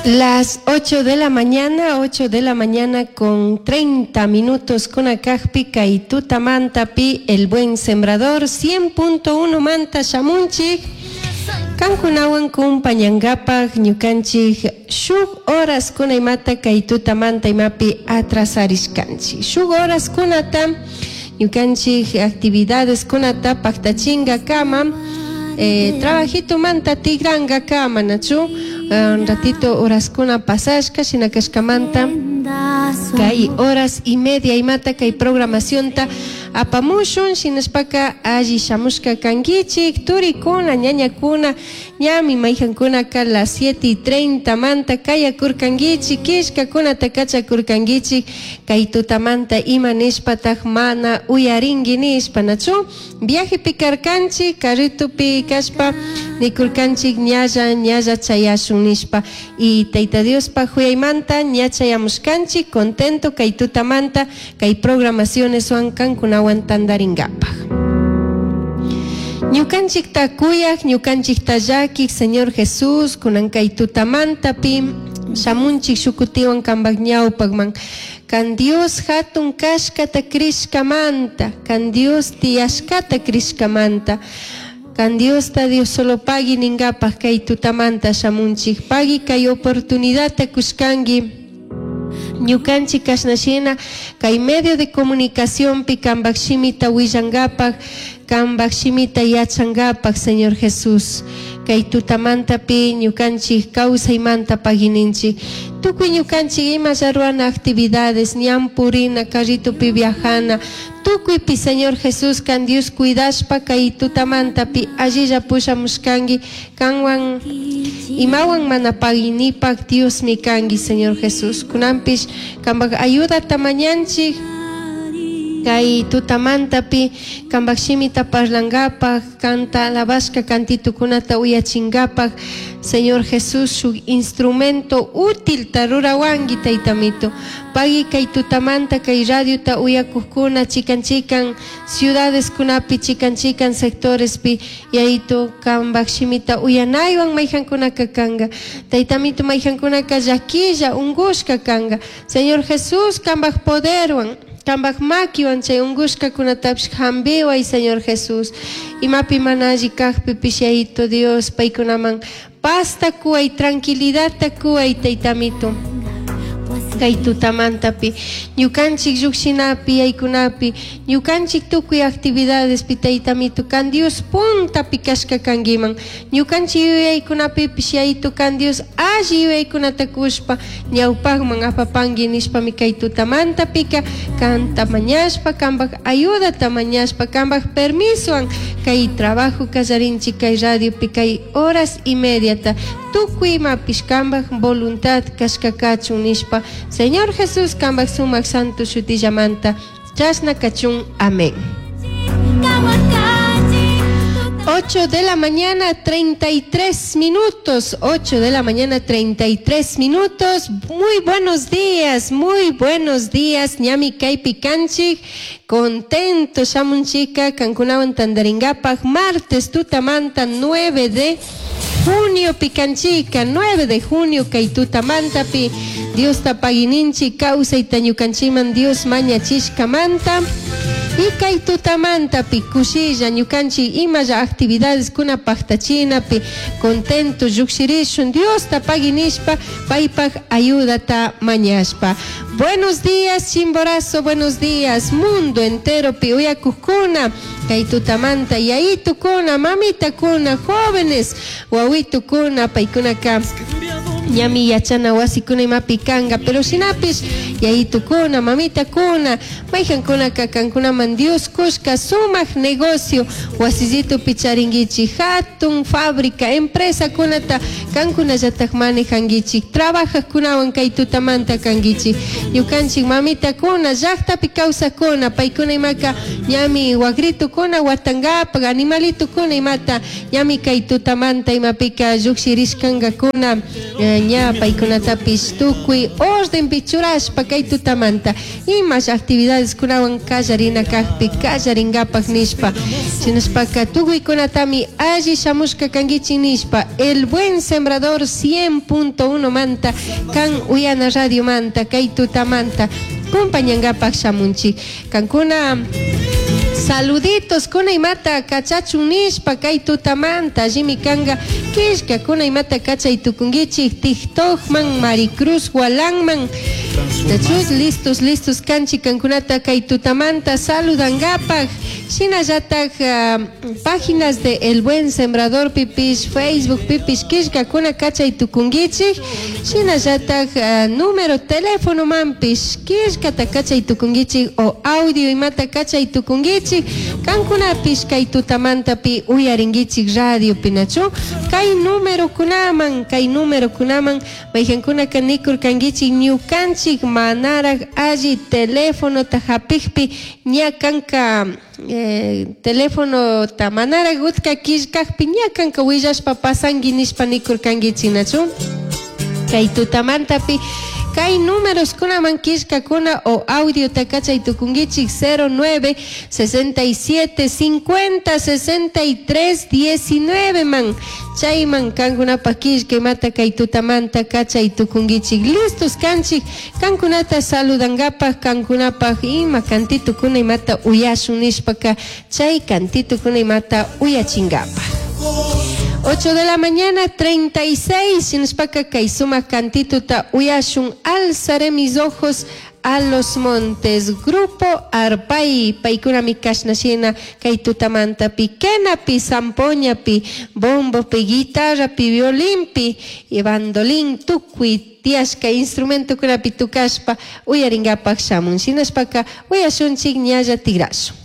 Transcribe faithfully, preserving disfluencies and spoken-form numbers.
Las ocho de la mañana, ocho de la mañana con treinta minutos con kajpi kay tutamantapi El Buen Sembrador cien punto uno manta shamunchik. Kankunawan kumpañangapaj ñukanchik shuk horas kuna imata kay tutamanta imapi atrasarishkanchik. Shuk horas kunata ñukanchik actividades kunata paktachinga kama eh, trabajito manta tigranga kama, nachu un ratito horaskuna pasashka. Shina kashkamanta kay horas y media imata kay programacionta apamushun. Shinashpaka alli shamushka kankichik, turikuna, ñañakuna. Ñami mayjankunaka las siete y treinta manta kayakurkankichik, killkakunata kachakurkankichik, kay tutamanta ima nishpataj mana uyarinki nishpa, nachu? Viajepi karkanchik, carritupi kashpa nikurkanchik ñalla ñalla chayashun nishpa, y Tayta Diospa huyaymanta ña chayamushkanchik, contento kay tutamanta kay programacioneswan kankunawan tandaringapaj. Ñukanchikta kuyaj, ñukanchikta llakik Señor Jesús, kunan kay tutamantapi shamunchik shukutiwan kambak ñawpakman. Kan Dios hatun kashkata krishkamanta, kan Dios tiyashkata krishkamanta, kan Diosta Dios solo pagui ningapaj kay tutamanta shamunchik. Pagui kay oportunidadta kushkanki ñukanchik kashnashina kay medio de comunicaciónpi kambak shimita willangapaj, kambak shimita yachangapaj. Señor Jesús, kay tutamantapi ñukanchik kawsaymanta pagininchik. Tukuy ñukanchik ima ruana actividades, ñan purina, carritupi viajana, tukuypi, Señor Jesús, kan Dios cuidashpa kay tutamantapi allilla pushamushkanki. Kanwan imawan mana paginipak Diosmi kanki, Señor Jesús. Kunanpish kambak ayudata mañanchik kay tutamantapi kambak shimita parlangapaj, kanta alabashka cantitukunata uyachingapaj. Señor Jesús, shuk instrumento útil ta rurawanki, Taytamito. Pagui kay tutamanta kay radiota uyakujkuna chikan chikan ciudades kunapi, chikan chikan sectorespi, Yayito, kambak shimita uyanaywan mayjankunaka kanga. Taytamito, mayjankunaka llaquilla ungushka kanga, Señor Jesús, kambak poderwan, kambak makiwan chay ungushkakunatapish hambiway, Señor Jesús. Imapi mana alli kajpipish, Yayito Dios, paykunaman pazta kuway, tranquilidadta kuway, Taytamito. Kay tutamantapi ñukanchik llukshinapi, yaykunapi, ñukanchik tukuy actividadespi, Taytamito, kan Dios puntapi kashka kankiman. Ñukanchik yuyaykunapipish, Yayito, kan Dios alli yuyaykunata kushpa ñawpakman apapanki nishpami kay tutamantapika kanta mañashpa, kambak ayudata mañashpa, kambak permisowan kay trabajo kallarinchik kay radiopi kay horas y mediata. Tukuy imapish kambak voluntad kashka kachun nishpa, Señor Jesús, kambak sumak santo shutillamanta chashna kachun. Amén. ocho de la mañana, treinta y tres minutos. ocho de la mañana, treinta y tres minutos. Muy buenos días, muy buenos días. Ñami kaypi kanchik. Contento, shamunchika, kankunawan tandaringapaj. Martes, tutamanta, nueve de junio pikanchika, nueve de junio kay tutamantapi. Diosta pagininchi, kawsayta ñukanchiman Dios mañachishkamanta. Y kay tutamantapi kushilla ñukanchik imalla actividades kuna paktachinapi contento llukshirishun, Diosta paginishpa, paypak ayudata mañashpa. Buenos días, Chimborazo, buenos días, mundo entero pi uyakukuna, kay tutamanta yayitukuna, mamitakuna, jóvenes, wawitukuna, paykunaka ñami yachana wasikuna imapi kanga, pero shinapish yayitukuna, mamitakuna, mayjankunaka kankunaman Dios kushka sumak negocio wasillitupi charinkichik, hatun fábrica, empresa kunata kankunallatak manejankichik, trabajajkunawan kay tutamanta kankichik. Ñukanchik mamitakuna, llaktapi kawsakuna, paykuna imaka ñami wakritukuna watankapak, animalitukuna imata ñami kay tutamanta imapika llukshirishkankakuna eh, ña paykunatapish tukuy ordenpi churashpa kay tutamanta imash actividades kunawan kallarina kakpi kallarinkapak nishpa. Shinashpaka tukuykunatami alli shamushka kankichik nishpa El Buen Sembrador cien punto uno manta kan uyana radio manta kay tutamanta compañankapak shamunchik. Kankuna saluditos kuna imata kachachun nishpa kay tutamanta allimi kanga killka kuna imata kachay tukunkichik TikTokman Maricruz Gualanman. Nachus listos listos kanchi kankunata kay tutamanta saludangapak. Shinallatak, uh, páginas de El Buen Sembrador pipish Facebook pipish killka kuna kachay tukunkichik. Shinallatak, uh, número teléfono manpish killkata kachay tukunkichik o audio imata kachay tukunkichik. Kankunapish kay tutamantapi uyarinkichik radio pinachu kay número kunaman kay número kunaman mayhankunaka nikurkankichik ñukanchik manaraj alli teléfonota hapikpi ña kanka, eh, teléfonota manaraj utka killkakpi ña kanka willashpa pasanki nishpa nikurkankichik nachu kay tutamantapi kay números kunaman killkakuna o audio takachay tukunkichik cero nueve sesenta y siete cincuenta sesenta y tres diecinueve man chayman kankunapaj killka imata kay tutamanta kachay tukunkichik listos kanchik kankunata saludankapaj kankunapaj ima kantitukuna imata uyashun nishpaka chay kantitukuna imata uyachinkapaj. Ocho de la mañana, treinta y seis, shinashpaka kay sumak kantituta uyashun, alzaré mis ojos a los montes. Grupo Arpay, paykunami kashnashina kay tutamantapi, quenapi, zampoñapi, bombopi, guitarrapi, violinpi, y bandolín, tukuy tiyashka instrumentokunapi tukashpa uyarinkapak shamun. Shinashpaka uyashunchik ñalla tigrashun.